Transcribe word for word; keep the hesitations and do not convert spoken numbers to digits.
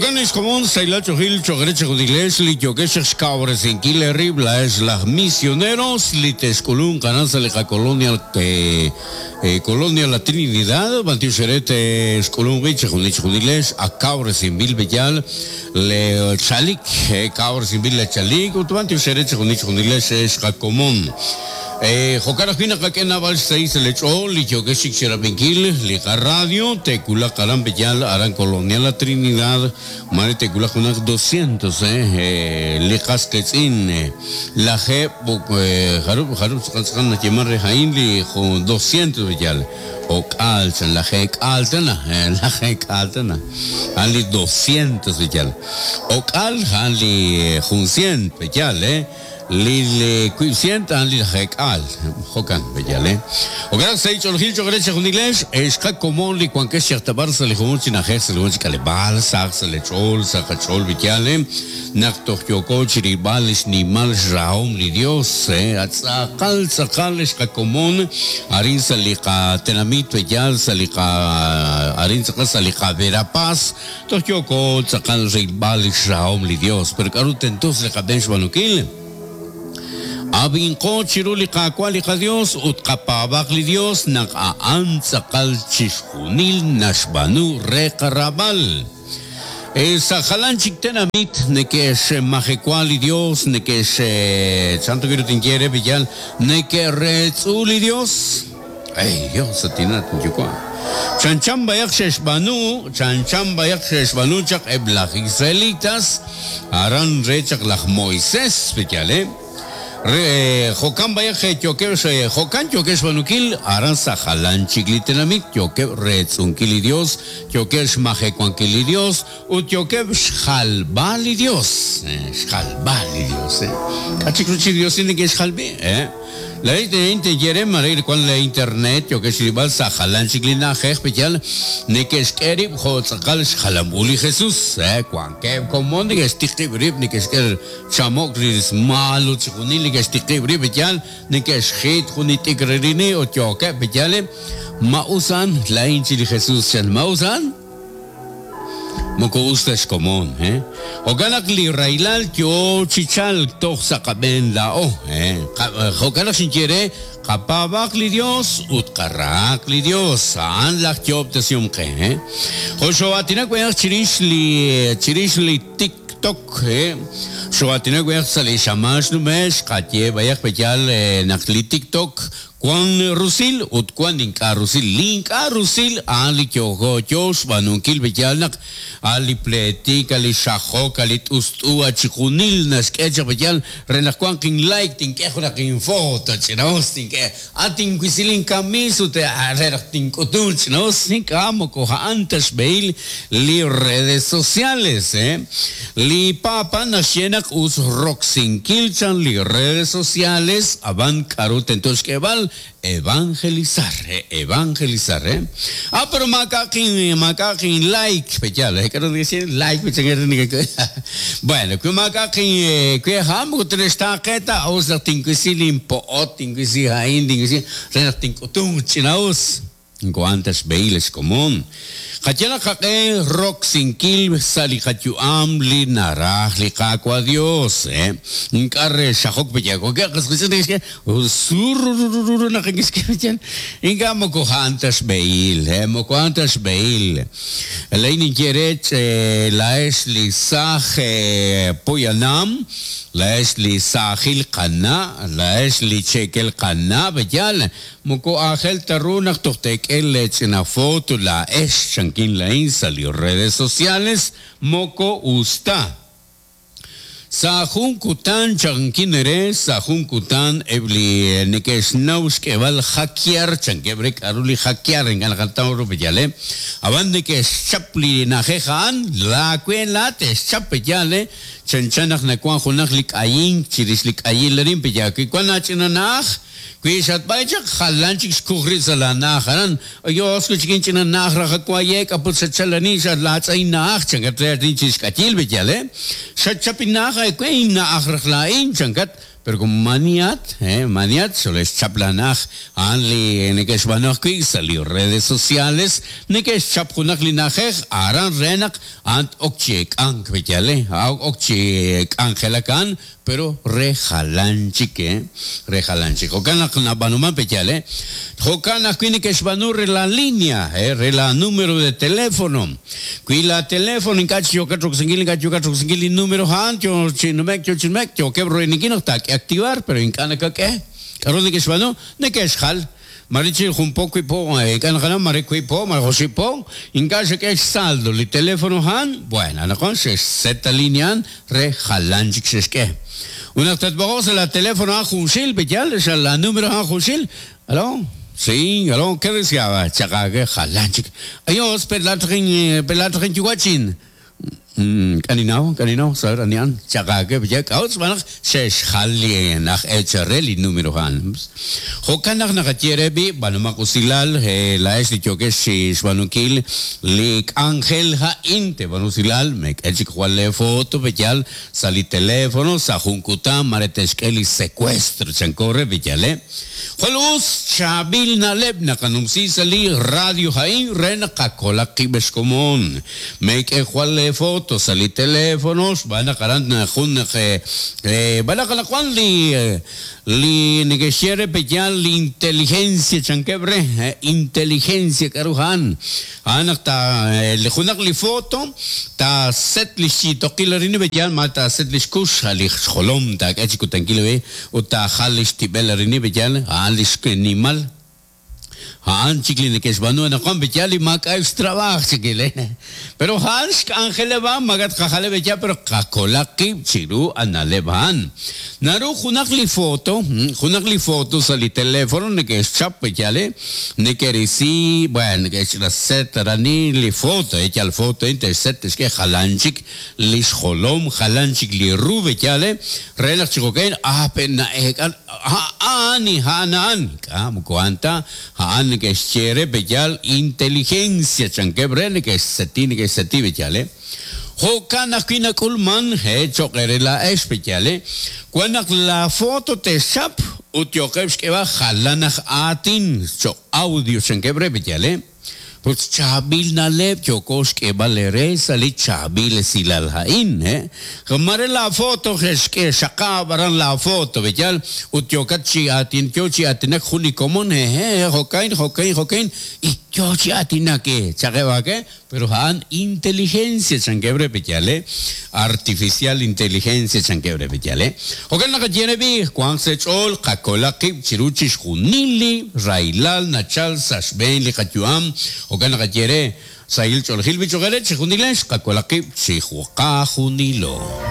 Jokan ixkomon sayla chojil chogreche judilesh li yokesh xkawresinkil rib la es las misioneros li teskulun kananza li colonia eh, eh, colonia la Trinidad bantiu serete eskulun giche junich judilesh a kawresinbil bellal le chalik eh, kawresinbil le chalik utbantiu serete junich judilesh es común. Eh, Jokara fina kakena bal seis le chol li yokesh xerapinkil li radio tecula karam bellal aran colonia la Trinidad mare tecula junak doscientos eh, eh li qasketzin eh, la g eh, jarup jarup tsqan na yemar rejain li doscientos bellal o kalchan la g kaltana eh, la g kaltana han li doscientos bellal o kal han li juncient bellal eh Lili cuicient han li jekal jokan bellale o gran seis chorgil chogreche junilesh esca comón li cuanque xertabar se le jumon chinaje se le jumon chikalebal sax se le chol sacachol bellale nakto yoko chiribal nimal raom li Dios eh atzakal tzakal esca comón arin salika tenamit bellal salika arin tzakal salika Verapaz tokyoko tzakal ribal raom li Dios pero karutentos le kabench banukil Abinko chiruli kakwali ka Dios ut kapabak li Dios nak aan sakal chishkunil nashbanu rekarabal. Esa jalan chiktenamit neke majecuali Dios neke santo quiero tinquiere villal neke retzuli Dios. Ay Dios atinat yukwa. Chan chan bayak sheshbanu, chan chan bayak sheshbanu chak eblach israelitas aran rechak lach Moisés villale. Re jokan bayak yoke jokan yoke shbanukil aran sajalan chiklitenamit yoke retzunkili Dios yoke shmajecuankili Dios ut yoke xjalbali Dios xjalbali Dios eh kachikruchi Dios tiene que xjalbi eh la inte yere marir con la internet yo que sirval sajalan chiklina jejpechal nekeskerib jotzakal xjalambuli Jesús eh cuanque como ni estiqib ni que chamok ris malo chikunil que estiqib bechal nekeshit junitikrini o yoke bechale mausan la inchi Jesús chan mausan moko ustas común eh oganak li railal yo chichal tox sakaben la o eh oganak sinquiere kapabak li Dios ut karak li Dios an la kyop tesium ke eh osho atina kweyak chirish li chirish li TikTok eh sho atina kweyak sali shamash numesh katye bayak pechal nak li TikTok Juan Rusil ut Juan inka Rusil linka Rusil ali kyogo yos banunkil beyalnak ali pletik ali shajok ali tustua chikunil naskecha beyal renak Juan king like tinkejo na king foto chinos tinke atin kuisilin kamisu te renak tinkutun chinos inkamo koja antes beil li redes sociales eh li papa nashenak us roxinkilchan li redes sociales aban karut entonces que val evangelizar, eh, evangelizar, eh. Ah, pero macaquin, macaquin like, ya, le quiero decir like, bueno, que macaquin, que ham, que está queta, os la tinquisilin poot, tinquisihain, tinquisi, renak tinkutung, chinaos. Cuantas beiles común. Katiana kake rock sinkil salikayuam li naraj li kakwa Dios eh. Nkarre shahok beyako que que sururururu na que inga moko antas beil eh moko antas beil. Leinin quiere la es li saj poyanam la es li sajil qana la es li chekel qana beyal moko ajel tarrunak tohtek el echena foto la es chanquín la salió redes sociales moko usta Sajun kutan chanquinere sajun kutan ebli nekesnaus kebal hackear chanquebrek aruli hackear en galgataro beyale abande que chapli najejan la cuela te chapeyale chanchanaj nakuan junaj lik ayin chirislik ayin lerin peyaki kuan achinanaj Kwishat baychak halanchik xkujri salanajaran yo escuchikin chinanaj rajakuayek aputsachalani xatlatz'aynaj chankat reatinchis k'atil beyale xachapinaja ekuinna ajrajla'in chankat Pero como maniat, eh, maniat, xolexchap lanaj, a'an li neke'xb'aanu ajwi' sa' li redes sociales, neke'xchap junaq li na'ajej, aran re naq a'an ok chi ek'ank b'eyal, eh, ok chi k'anjelak a'an, pero re jalan chik, eh, re jalan chik. Jo'kan naq nab'aanuman b'eyal, eh. Jo'kan ajwi' neke'xb'aanu re la línea, eh, re la número de teléfono. Wi la teléfono ink'a' chi yokat roksinkil, ink'a' yokat roksinkil li número a'an, yo chi numek, yo chi numek, yookeb' royninkil naq taak'e activar, pero ink'a' nakak'e. K'aru neke'xb'aanu? Neke'xjal. Mare chi jun po wi po, ink'a' naqanaw, mare wi po, mare oxib' po, ink'a' xak'e xsaldo li teléfono a'an, bueno, anaqwan xe'xset la línea a'an re jalan chik xe'xk'e. Unaq tatb'oqoq sa' la teléfono a'an junxil, b'eyal, xa la número a'an junxil, ¿aló? Sí, aló, ¿qué deseaba? Chaqake jalan chik. Ayos, pelatrin, pelatrin yuwachin. K'aninaw, k'aninaw, saber anian, chaqake b'eyal, k'a'ut xb'aan naq xe'xjal li naj echarre li número a'an. Jo'kan naq naqaye b'i, b'anumaq usilal, laa'ex li yookex chi xb'aanunkil li k'anjel ha'in, te b'anu usilal, mek'e chik jwal le foto b'eyal sa' li teléfono, sa' jun kutan, mare te'xk'e li secuestro, chanko re b'eyal, eh. Jwal us chaab'il na'leb' naqanumsi sa' li radio ha'in re naq qakolaq qib' xkomon. Mek'e jwal le foto sa' li teléfono, xb'aan naq aran jun naq b'aan naq anaqwan li li neke'xye re b'eyal li inteligencia chankeb' re, inteligencia k'aru a'an. A'an naq ta li junaq li foto ta set li xchitoqil arin b'eyal, ma ta set li xkux, li xjolom taak'e chi kutankil be, ut taajal li xtib'el arin b'eyal, a'an li xnimal. A'an chik li neke'xb'aanu anaqwan b'eyal li maak'a' xtrab'aj chikil, eh. Pero a'an xk'anjeleb' magat qajaleb' b'eyal, pero qakolaq qib' chiru ana'leb' a'an. Naru junaq li foto, junaq li foto sa' li teléfono neke'xchap b'eyal, eh, neke'risi, bueno, neke'xraset arani li foto, eh, yal foto, eh, te'xset te'xk'e jalan chik li xjolom, jalan chik li ru b'eyal, eh, re naq chi jo'kan, ah, pe na'eek'an, a'an, a'an, a'an, k'a, moko a'an ta, a'an neke'xye re b'eyal inteligencia chankeb' re neke'xseti, neke'xseti b'eyal, eh. Jo'kan ajwi' nak'ulman, eh, cho'q re laa'ex b'eyal, eh. Wan naq la foto te'xchap ut yookeb' xk'eb'al jalan aj aatin cho'q audio chankeb' re b'eyal, eh. Ut chaab'il na'leb' yooko xk'eb'al re sa' li chaab'il esilal ha'in, eh. Mare la foto xk'e xaqab' aran la foto b'eyal, ut yookat chi aatin, yo chi aatinak jun li komon, eh, eh, jo'kan, jo'kan, jo'kan, y yo chi aatinak, eh, chaqeb'ak, eh. Pero a'an inteligencia chankeb' re b'eyal, eh. Artificial inteligencia chankeb' re b'eyal, eh. Jo'kan naqaye b'i, wanq sa' ch'ool qakolaq qib' chiru chixjunil li raylal nachal sa' xb'een li qayu'am. Jo'kan naqaye re sahil ch'oolejil bichoqere chixjunilex qakolaq qib' chi juqajunilo.